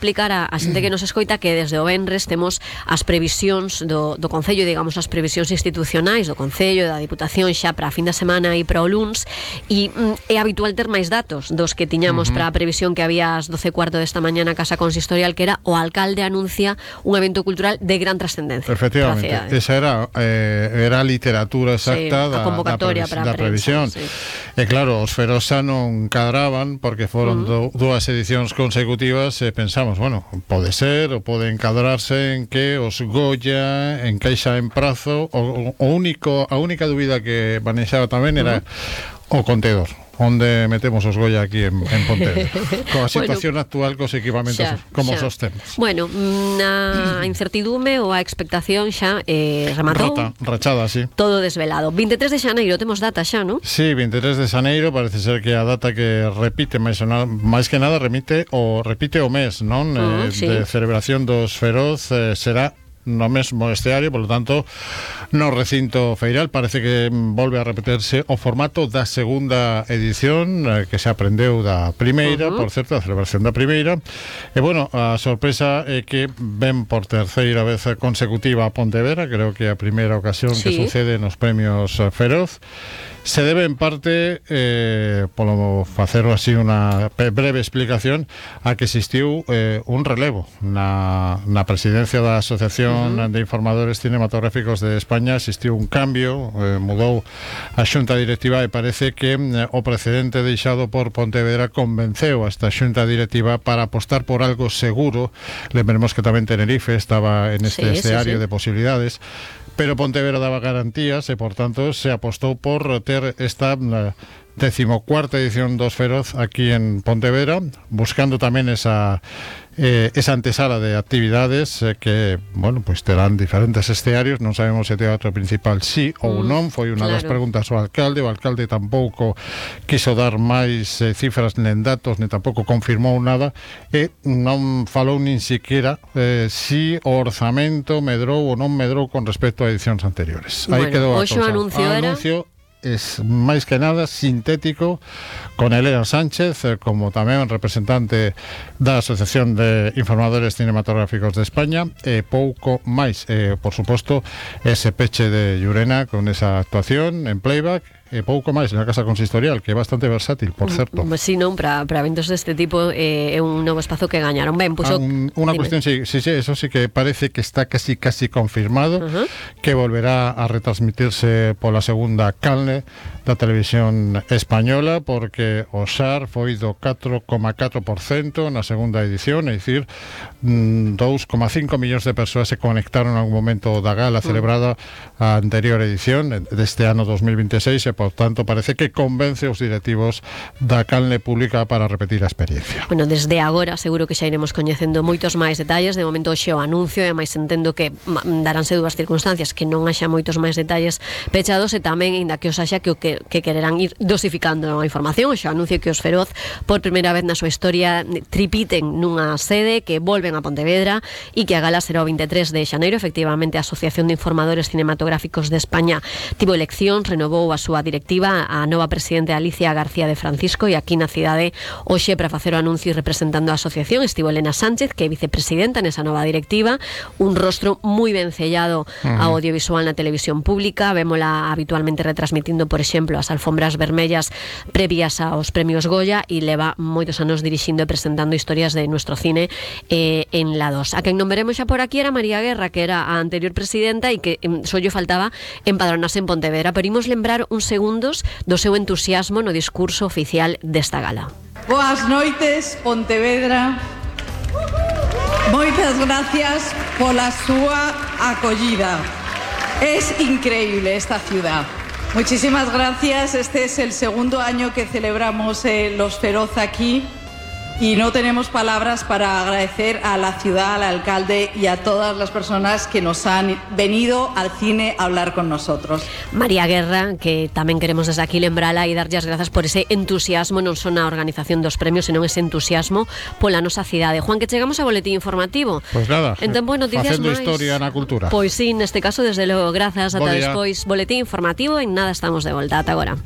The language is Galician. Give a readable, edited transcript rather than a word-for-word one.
explicar a xente que nos escoita que desde o venres temos as previsións do Concello, digamos, as previsións institucionais do Concello, da Diputación xa para a fin de semana e para o luns, e é habitual ter máis datos dos que tiñamos para a previsión que había ás 12:15 desta mañá na Casa Consistorial, que era o alcalde anuncia un evento cultural de gran trascendencia. Efectivamente, esa era a literatura exacta da convocatoria da previsión. Sí. E claro, os Ferosa non cadraban porque foron dúas edicións consecutivas e pensamos, bueno, pode ser ou pode encadrarse en que os Goya encaixa en prazo. A única dúbida que manexaba tamén era o contedor, onde metemos os Goya aquí en Pontevedra, coa situación actual, cos equipamentos como os temos. Bueno, a incertidume ou a expectación xa rematou. Rachada, sí. Todo desvelado. 23 de xaneiro, temos data xa, non? Sí, 23 de xaneiro, parece ser que a data que repite máis que nada repite o mes, non? De celebración dos Feroz será no mesmo esteario, por lo tanto no recinto feiral. Parece que volve a repetirse o formato da segunda edición, que se aprendeu da primeira, por certo, a celebración da primeira. E bueno, a sorpresa é que ven por terceira vez consecutiva a Pontevedra, creo que a primeira ocasión que sucede nos premios Feroz. Se debe en parte, polo facerlo así unha breve explicación, a que existiu un relevo na presidencia da Asociación de Informadores Cinematográficos de España. Existiu un cambio, mudou a xunta directiva e parece que o precedente deixado por Pontevedra convenceu a esta xunta directiva para apostar por algo seguro. Lembremos que tamén Tenerife estaba en este escenario de posibilidades, pero Pontevedra daba garantías e, por tanto, se apostou por ter esta 14ª edición dos Feroz aquí en Pontevedra, buscando tamén esa antesala de actividades que, bueno, pues terán diferentes escenarios. Non sabemos se o teatro principal sí ou non, foi unha das preguntas ao alcalde. O alcalde tampouco quiso dar máis cifras nen datos, nen tampouco confirmou nada, e non falou nin siquiera si o orzamento medrou ou non medrou con respecto a edicións anteriores. Aí quedou a cousa. O anuncio es máis que nada sintético, con Elena Sánchez como tamén representante da Asociación de Informadores Cinematográficos de España, e pouco máis, por suposto ese peche de Llurena con esa actuación en playback, e pouco máis na Casa Consistorial, que é bastante versátil, por certo. Si non, para eventos deste tipo é un novo espazo que gañaron. Ben, pois unha cuestión, sí, eso sí que parece que está casi confirmado, que volverá a retransmitirse pola segunda canle da televisión española, porque o XAR foi do 4,4% na segunda edición, é dicir, 2,5 millóns de persoas se conectaron a un momento da gala celebrada a anterior edición deste ano 2026, e por tanto parece que convence os directivos da canle pública para repetir a experiencia. Bueno, desde agora seguro que xa iremos coñecendo moitos máis detalles. De momento xe o anuncio, e máis entendo que daránse dúas circunstancias, que non haxa moitos máis detalles pechados, e tamén, ainda que os haxa, que quererán ir dosificando a información. Xa anuncio que os Feroz, por primeira vez na súa historia, tripiten nunha sede, que volven a Pontevedra, e que a gala será o 23 de xaneiro. Efectivamente, a Asociación de Informadores Cinematográficos de España tivo elección, renovou a súa directiva, a nova presidente Alicia García de Francisco, e aquí na cidade hoxe, para facer o anuncio e representando a asociación, estivo Elena Sánchez, que é vicepresidenta nesa nova directiva, un rostro moi ben sellado ao audiovisual na televisión pública. Vémola habitualmente retransmitindo, por exemplo, as alfombras vermellas previas aos premios Goya, e leva moitos anos dirixindo e presentando historias de nuestro cine en la 2. A quen non veremos xa por aquí era María Guerra, que era a anterior presidenta e que só lle faltaba empadronarse en Pontevedra, pero imos lembrar uns segundos do seu entusiasmo no discurso oficial desta gala. Boas noites, Pontevedra. Moitas gracias pola súa acollida. Es increíble esta ciudad. Muchísimas gracias. Este es el segundo año que celebramos los Feroz aquí, y no tenemos palabras para agradecer a la ciudad, al alcalde y a todas las personas que nos han venido al cine a hablar con nosotros. María Guerra, que tamén queremos desde aquí lembrala e darlle as grazas por ese entusiasmo, non só na organización dos premios, senón ese entusiasmo pola nosa cidade. Juan, que chegamos ao boletín informativo. Pois nada, en tempo de noticias facendo máis historia na cultura. Pois sí, neste caso, desde logo, grazas, ata despois. Boletín informativo, en nada estamos de volta. Ata agora.